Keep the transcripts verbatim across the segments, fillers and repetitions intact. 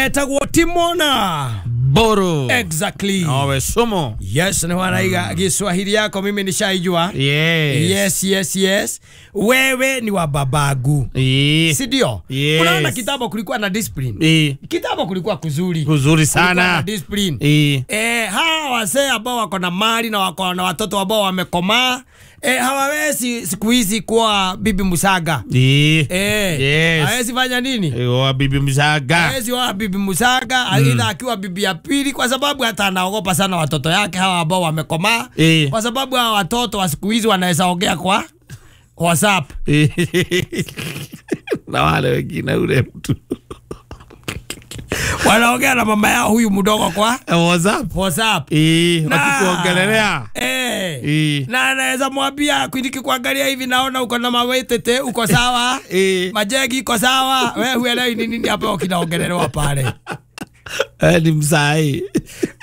Etagwo Timona Boro. Exactly. Nawe somo. Yes, ni wanaiga Kiswahili yako mimi nishaijua. Yes. Yes, yes, yes. Wewe ni wa babagu. Yes. Si ndio? Yes. Unaona kitambo kulikuwa na discipline. Eh. Kitambo kulikuwa kuzuri. Kuzuri sana. Kulikuwa na discipline. Eh. Eh, hawa wazee ambao wako na mali na wako na watoto ambao wamekomaa, eh, hawawezi siku hizi kuwa bibi musaga. Eh. Eh. Yes. Hawezi fanya nini? Eh, wa bibi musaga. Hawezi wa bibi musaga, mm. Aidha akiwa bibi ya pili, kwa sababu hata anaogopa sana watoto yake hawa ambao wamekomaa. Eh. Kwa sababu hawa watoto wa siku hizi wanaweza ongea kwa WhatsApp. Na wale wengine ule mtu wanaongea na mama yao huyu mdogo kwa WhatsApp. WhatsApp. Eh, wakikuongelea. Eh. Eh. Na anaweza mwambia kuindiki kuangalia hivi, naona uko na mawetete, uko sawa. Eh. Majegi iko sawa. Wewe huelewi ni nini hapo kinaongelelewa pale. Eh, ni msai.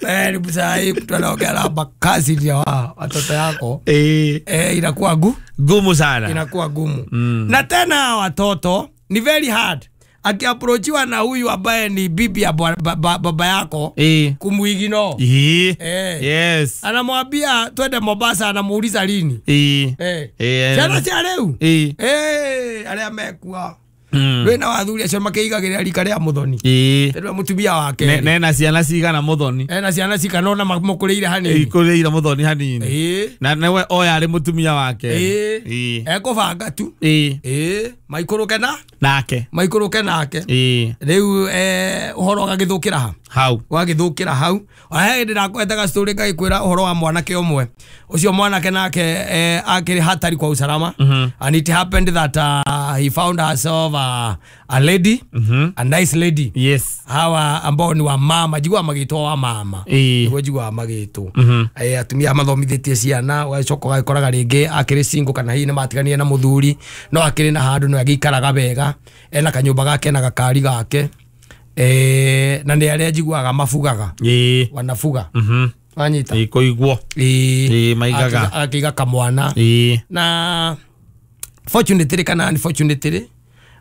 Eh, ni msai mtu anaongea na makazi ya watoto yako. Eh. Eh, inakuwa gu gumu sana. Inakuwa gumu. Mm. Na tena watoto ni very hard. Akiapproachiwa na huyu ambaye ni bibi ya baba ba, ba, yako e. Kumuigino. E. E. Yes. Anamwambia twende Mombasa, anamuuliza lini. E. E. E. Ciana cia riu. E. E, aria mekua. Mm. Rwina wathuri acio makiigagĩrĩra rika rĩa Muthoni. E. Rĩu mutumia wake. Ne, nena ciana cigana Muthoni. Ena ciana cigana ona makũrĩire hanini. Ikũrĩire Muthoni hanini. E. Na newe oya arĩ mutumia wake. E. E. Ekũbanga tu. E. E. Maikũrũke na nake. Maikũrũke nake. E. Rĩu eh ũhoro ũgagĩthũkĩra ha. Hau. Ũgagĩthũkĩra hau. Ona he hĩndĩ ndakwetaga story ngagĩkwĩra ũhoro wa mwanake ũmwe. Ũcio mwanake nake eh, akĩrĩ hatari kwa usalama. Mm -hmm. And it happened that uh, he found herself a, a lady, mm -hmm. a nice lady. Yes. Hawa ambao ni wa mama, jigwa magĩtwo wa mama. Nĩguo jigwa magĩtwo. Mm -hmm. Eh, atumia mathomithĩtie ciana, ũgacoka ũgagĩkoraga rĩngĩ akĩrĩ single kana hihi nĩmatiganire na mũthuri, no akĩrĩ na handũ no agĩikaraga wega, ena kanyũmba gake na gakari gake. Eh, na nĩ arĩa njiguaga mabugaga. Ĩĩ. Wanafuga. Mhm. Wanyita. Ĩĩ kũigwo. Ĩĩ. Ĩĩ maigaga. Akĩiga kamwana. Ĩĩ. Na fortunately kana unfortunately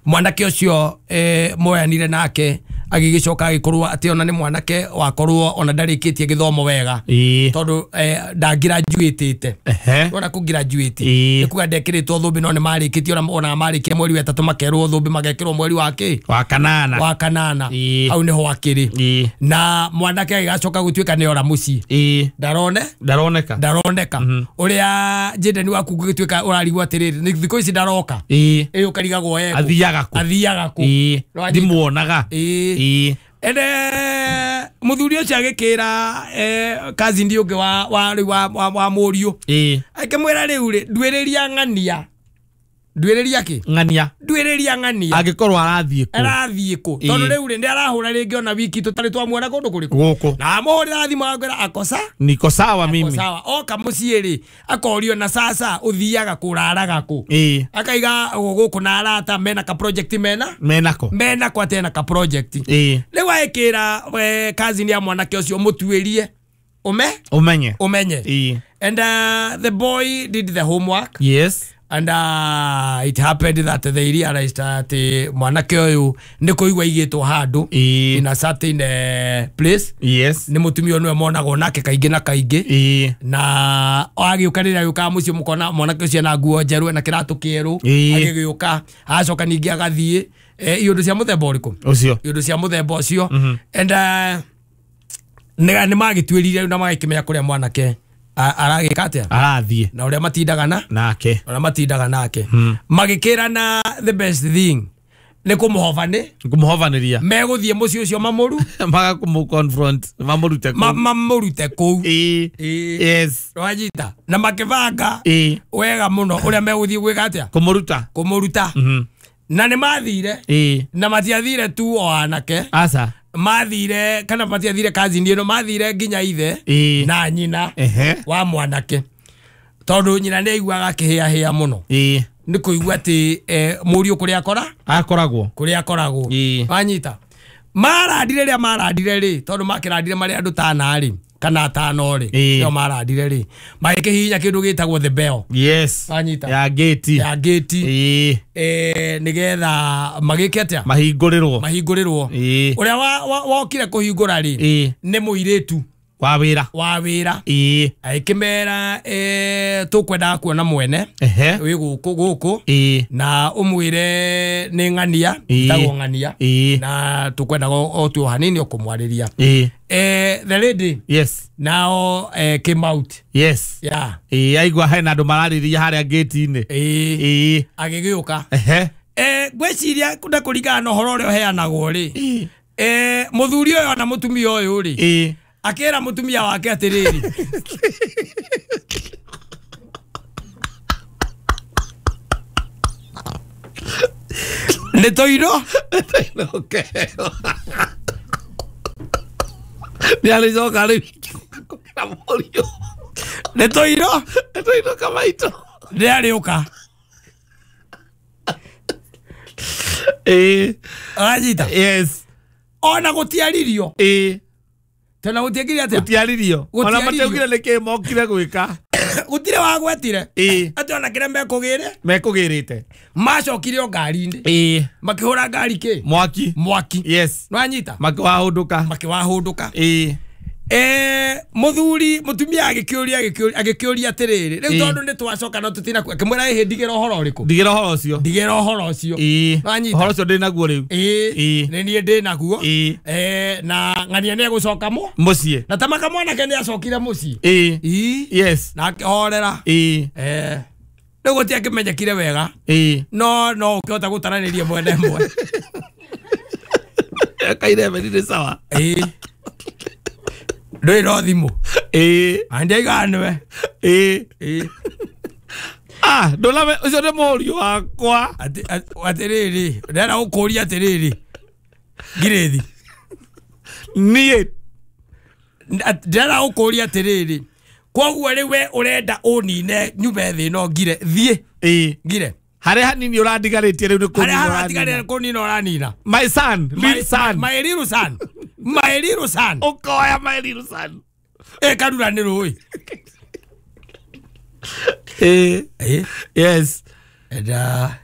mwanake ũcio eh, moyanire nake agĩgĩcoka agĩkorwo atĩ ona nĩ mwanake wakorwo ona ndarĩkĩtie gĩthomo wega. Ĩĩ. Tondũ eh, ndangirajuĩtĩte. Ehe. Ona kũgraduate. Ĩĩ. Nĩ kuga ndekĩrĩtwo thũmbĩ no nĩ marĩkĩtie ona ona marĩkia mweri wa ĩtatũ makerwo thũmbĩ magekĩrwo mweri wa kĩ? Wa kanana. Wa kanana. Ĩĩ. Hau nĩho akĩrĩ. Ĩĩ. Na mwanake agĩgacoka gũtuĩka nĩ ora mũciĩ. Ĩĩ. Ndarone? Ndaroneka. Ndaroneka. Mm -hmm. Ũrĩa Jayden waku gũgĩtuĩka ũrarigwo atĩrĩrĩ, nĩ thikũ ici ndaroka. Ĩĩ. Ĩĩ ũkarigagwo ekũ. Athiaga kũ? Athiaga kũ? Ĩĩ. Ndimuonaga. Ĩĩ. Ĩĩ. Ene muthuri ũcio agĩkĩra eh, cousin ũngĩ wa wa rĩu wa, wa, wa mũriũ. Ĩĩ. Akĩmwĩra rĩu rĩ, nduĩrĩria ng'ania. Nduĩrĩria kĩ? Ng'ania. Nduĩrĩria ng'ania. Angĩkorwo arathiĩ kũ? Arathiĩ kũ? Tondũ rĩu rĩ, nĩ arahũra rĩngĩ ona wiki tũtarĩ twamuona kũndũ kũrĩkũ. Gũkũ. Na amũhũrĩra thimũ akamwĩra akosa? Niko sawa mimi. Ako sawa. Oka mũciĩ rĩ, akorio na sasa ũthiaga kũraraga kũ? Ĩĩ. Akaiga gũkũ na arata mena ka project mena? Menako. Menako atĩ ena ka project. Ĩĩ. Rĩu agĩkĩra we cousin ya mwanake ũcio mũtuĩrie. Ume? Umenye. Umenye. Ĩĩ. And uh, the boy did the homework. Yes. And uh, it happened that they realized that mwanake ũyũ nĩ kũigua aigĩtwo handũ in a certain uh, place. Yes. Nĩ mũtumia nĩwe monagwo nake kaingĩ na kaingĩ. Ĩĩ. Na agĩũka rĩrĩa agĩũkaga mũciĩ mũkona mwanake ũcio ena nguo njerũ ena kĩratũ kĩerũ. Agĩgĩũka acoka ningĩ agathiĩ eh, iũndũ cia mũthemba ũrĩkũ? Ũcio. Iũndũ cia mũthemba ũcio. Mm -hmm. And uh, nĩ magĩtuĩrire na magĩkĩmenya kũrĩa mwanake aragĩka atĩa? Arathiĩ. Na ũrĩa matindaga na nake. Ũrĩa matindaga nake. Hmm. Magĩkĩrana the best thing nĩ kũmũhobani. Kũmũhobanĩria. Megũthiĩ mũciĩ ũcio mamũru. Maga confront mamũrute kũu. Mamũrute kũu. Ĩĩ. Yes. Wanyita. Na makĩbanga. Ĩĩ. Wega mũno ũrĩa megũthiĩ gwĩka atĩa? Kũmũruta. Kũmũruta. Mhm. Na nĩ mathire. Ĩĩ. Na matiathire tu o anake. Aca. Mathire kana matiathire cousin ĩno mathire nginya ithe. Ĩĩ. Na nyina. Ehe. Wa mwanake. Tondũ nyina nĩ aiguaga akĩhĩahĩa mũno. Ĩĩ. Nĩ kũigua atĩ eh, mũriũ kũrĩa akora? Akoragwo. Kũrĩa akoragwo. Ĩĩ. Wanyita. Marandire rĩrĩa marandire rĩ, tondũ makĩrandire marĩ andũ tana rĩ. kana atano rĩ nĩo marandire rĩ magĩkĩhihinya kĩndũ gĩtagwo the bell. Yes. Wanyita ya gate. Ya gate. Ĩĩ. Eh nĩgetha magĩke atĩa? Mahingũrĩrwo. Mahingũrĩrwo. Ĩĩ. Ũrĩa wokire kũhingũra rĩ nĩ mũirĩtu wa wĩra. Wa wĩra. Ĩĩ. Agĩkĩmera eh tũkwendaga kuona mwene wĩ gũkũ gũkũ na ũmwĩre nĩ ng'ania, ĩtagwo ng'ania na tũkwendaga o tu hanini ũkũmwarĩria. Ĩĩ. Eh the lady. Yes. Now eh, came out. Yes. Yeah. Ĩĩ aigua hena andũ mararĩria harĩa gate-inĩ. Ĩĩ. Ĩĩ. Agĩgĩũka. Ehe. Eh ngwĩciria kunda kũringana na ũhoro ũrĩa ũheanagwo rĩ. Eh mũthuri ũyũ na mũtumia ũyũ rĩ. Ĩĩ. Akĩra mũtumia wake atĩrĩrĩ. Nĩ tũirwo. Nĩ arĩcoka rĩu kũkĩra mũriũ. Nĩ tũirwo. Nĩ tũirwo kamaitũ. Nĩ arĩũka. Ĩĩ. Wanyita? Yes. Ona gũtiaririo. Ĩĩ. Tena gũtiekire atĩa? Gũtiaririo. Ona matiaugire nĩkĩ mokire gwĩka. Gũtirĩ wagwetire. Ĩĩ. Atĩ ona kĩrĩa mekũgĩre? Mekũgĩrĩte. Macokire o ngari-inĩ. Ĩĩ. Makĩhũra ngari kĩ? Mwaki. Mwaki. Yes. Nĩwanyita? Makĩwahũndũka. Makĩwahũndũka. Ĩĩ. Eh mũthuri mũtumia agĩkĩũria agĩkĩũria agĩkĩũria atĩrĩrĩ rĩu tondũ nĩ twacoka no tũtina akĩmwĩra ĩhĩ ndigĩra ũhoro ũrĩkũ? Ndigĩra ũhoro ũcio. Ndigĩra ũhoro ũcio. Ĩĩ. Nĩwanyita? Ũhoro ũcio ndĩ naguo rĩu. Ĩĩ. Nĩ niĩ ndĩ naguo. Ĩĩ. Eh na ng'ania nĩ egũcoka mũ? Mũciĩ. Na ta makamwanake nĩ acokire mũciĩ. Ĩĩ. Ĩĩ. Yes. Na akĩhorera. Ĩĩ. Eh rĩu gũtiakĩmenyekire wega. Ĩĩ. No no ũkĩhota gũtaranĩria mwena ĩmwe. Kairebe nĩ sawa. Ĩĩ. Ndũrĩ no thimũ. Ĩĩ. Andiaiganwe. Ĩĩ. Ĩĩ. Ah, ndũname ũcio nĩ mũriũ wakwa. Atĩ atĩrĩrĩ, ndĩrenda gũkũria atĩrĩrĩ. Ngirĩthi. Niĩ. Ndĩrenda gũkũria atĩrĩrĩ. Kwoguo rĩu we ũrenda ũnine nyume thĩ no ngire thiĩ. Ĩĩ. Ngire. Harĩa hanini ũrandigarĩtie rĩu nĩ kũnina. Harĩa haratigarĩtie kũnina ũranina. My son, little son. My little son. My little son. Ũkoya my little son. Ĩ karura nĩ rũĩ. Ĩĩ. Ĩĩ. Yes. Enda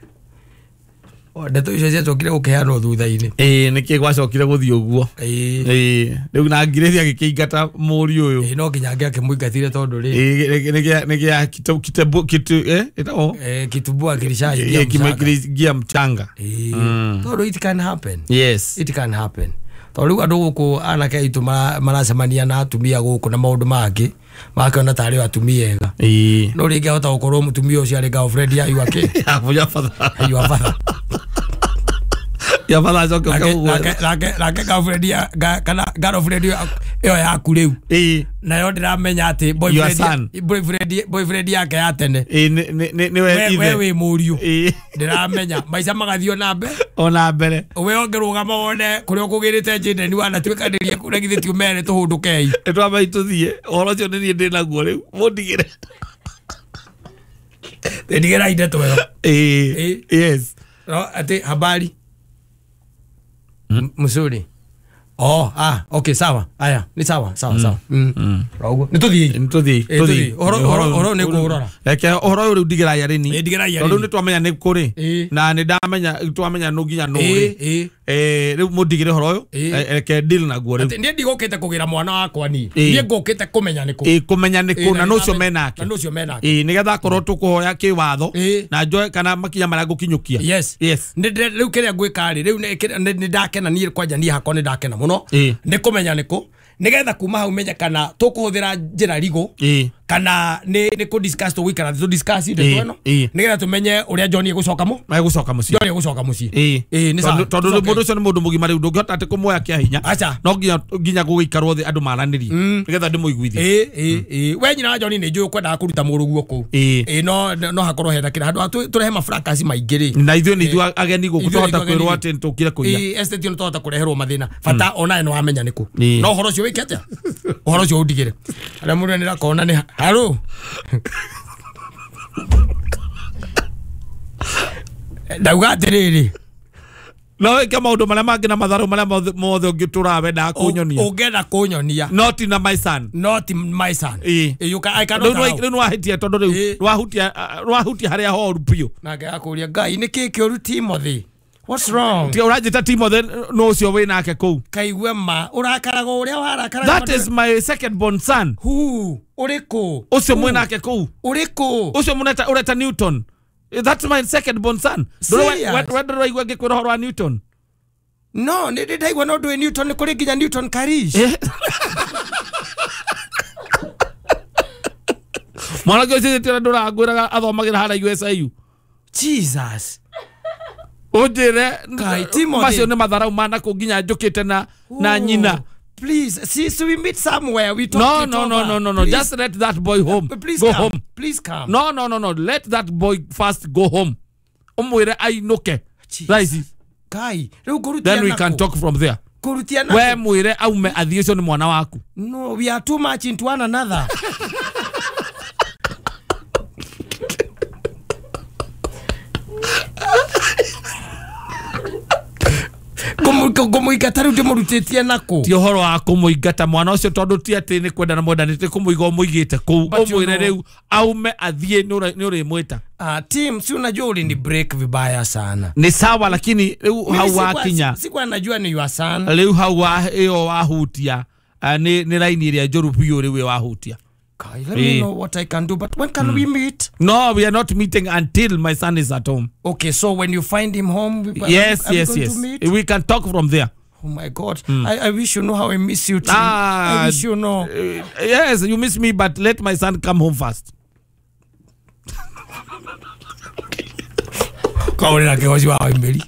ndeto icio ciacokire gũkĩheanwo thutha-inĩ. Ĩĩ nĩkĩ gwacokire gũthiĩ ũguo. Ĩĩ. Ĩĩ. Rĩu na Ngirĩthi agĩkĩingata mũriũ ũyũ. Ĩĩ no nginya angĩakĩmũingatire tondũ rĩ. Ĩĩ nĩkĩa nĩkĩa kitu kitu kitu eh ĩtagwo? Eh kitumbua kilishaingia mchanga. Mchanga. Ĩĩ. Tondũ it can happen. Yes. It can happen. Tondũ rĩu andũ gũkũ anake aitũ maracemania na atumia gũkũ na maũndũ mangĩ makĩona tarĩ o atumia ega. Ĩĩ. No rĩngĩ ahota gũkorwo mũtumia ũcio arĩ girlfriend ya yuake. Ya father. Ya father. Ya father acoke ũguo. Nake nake nake girlfriend ya kana girlfriend ĩyo yaku rĩu. Ĩĩ. Nayo ndĩramenya atĩ boyfriend boyfriend boyfriend yake ya tene. Ĩĩ nĩ nĩ we ithe. We wĩ mũriũ. Ĩĩ. Ndĩramenya maica magathiĩ na mbere. Ona mbere. We ũngĩrũgama wone kũrĩa ũkũgĩrĩte Jaden wanatuĩkanĩria kũrĩa githĩ ti ũmere tũhũndũkei. Nĩ twambai tũthiĩ ũhoro ũcio nĩ niĩ ndĩ naguo rĩu mũndigĩre. Ndigĩra ndeto ĩyo. Ĩĩ. Yes. No atĩ habari. Mzuri. Oh, ah, okay, sawa. Aya, ni sawa, sawa, sawa. Mm. Rogo. Ni tuthiĩ. Nĩ tũthiĩ. Tũthiĩ. Ũhoro ũhoro nĩ kũrora. Reke ũhoro ũyũ rĩu ndigĩra yarĩni. Ndigĩra yarĩni. Tondũ nĩ twamenya nĩ kũrĩ. Na nĩ ndamenya twamenya nũ nginya nũ rĩ. Eh, rĩu mũndigĩre ũhoro ũyũ. Reke deal naguo rĩu. Niĩ ndigũkĩte kũgĩra mwana wakwa niĩ. Niĩ ngũkĩte kũmenya nĩ kũ. Ĩĩ kũmenya nĩ kũ na nũ ũcio menake. Na nũ ũcio menake. Ĩĩ nĩgetha akorwo tũkũhoya kĩwatho na njoe kana makinya marĩa ngũkinyũkia. Yes. Yes. Nĩ rĩu kĩrĩa ngwĩka rĩ, rĩu nĩ ndakena niĩ kwanja niĩ hakwa nĩ ndakena mũno. Nĩ kũmenya nĩ kũ nĩgetha kuma hau menye kana tũkũhũthĩra njĩra rigũ kana nĩ nĩ kũ discuss tũgũikara thĩ tũ discuss ndeto ĩno nĩgetha tũmenye ũrĩa John egũcoka mũ egũcoka mũciĩ John egũcoka mũciĩ. Ĩĩ nĩ sawa tondũ mũndũ ũcio nĩ mũndũ mũgima rĩu ndũngĩhota atĩ kũmuoya kĩa hinya. Aca. No nginya nginya gũgĩikarwo thĩ andũ maranĩrie nĩgetha ndĩmũiguithie. Ĩĩ ĩĩ ĩĩ we nyina wa John nĩ njũĩ ũkwendaga kũruta mũrũguo kũu. Ĩĩ no no hakorwo hena kĩrĩa handũ tũrehe mafracas maingĩ rĩ. Na ithuĩ nĩ ithuĩ ageni gũkũ tũhota kwĩrwo atĩ nĩtũkire kũiya. Ĩĩ estate ĩno tũhota kũreherwo mathĩna bata onawe nĩ wamenya nĩ kũ. No ũhoro ũcio wĩke atĩa? Ũhoro ũcio ũndigĩre. Arĩa mũndũ nĩrakona nĩ haro. Ndauga atĩrĩrĩ No wĩke maũndũ marĩa mangĩ na matharũ marĩa mothe ũngĩtũra wendaga kũnyonia. Ũngĩenda kũnyonia. Not in my son. Not my son. Ĩĩ. You can, I cannot allow. Rĩu nĩwahĩtia tondũ rĩu nĩwahutia nĩwahutia harĩa horu biũ. Nake akũria Ngai nĩ kĩ kĩũru Timothy? What's wrong? Tiga ũranjĩta Timothy no ũcio wĩ nake kũu. Kaigue ma ũrakaraga ũrĩa warakaraga. That is my second born son. Who? Ũrĩkũ? Ũcio mwĩ nake kũu. Ũrĩkũ? Ũcio mũneta ũreta Newton. That's my second born son. Wendo ũraigua ngĩkwĩra ũhoro wa Newton? No, nĩ ndaigua no ndũĩ Newton nĩ kũrĩ nginya Newton Karish. Mwanake ũcio tira ndũrangwĩraga athomagĩra harĩa U S I U. Jesus. Ũnjĩre macio nĩ matharau mana kũ nginya njũkĩte na na nyina. Please, see, so we meet somewhere. We talk. No, no, no, no, no, no. Just let that boy home. Please go come. home. Please come. No, no, no, no. Let that boy first go home. Umwire ainuke. Raisi. Kai, then we can talk from there. We mwire aume athiĩ ũcio nĩ mwana waku. No, we are too much into one another. Kũmũingata rĩu ndĩmũrutĩtie nakũ? Ti ũhoro wa kũmũingata mwana ũcio tondũ ti atĩ nĩ kwenda na mwendanĩte kũmũiga ũmũigĩte kũu. Ũmwĩre rĩu aume athiĩ nĩ ũrĩmwĩta. Ah, Tim, si unajua ulini break vibaya sana. Ni sawa lakini rĩu hau wakinya. Sikuwa najua ni your son. Rĩu hau wa ĩyo wahutia nĩ nĩ raini ĩrĩa njũru biũ rĩu ĩyo wahutia. Kai, let me know what I can do, but when can we meet? No, we are not meeting until my son is at home. Okay, so when you find him home, we, yes, are, are yes, we going yes. to meet? We can talk from there. Oh my God, mm. I, I wish you know how I miss you, Tim. Ah, I wish you know. Uh, yes, you miss me, but let my son come home first. Kaurira kegoci wa Emily.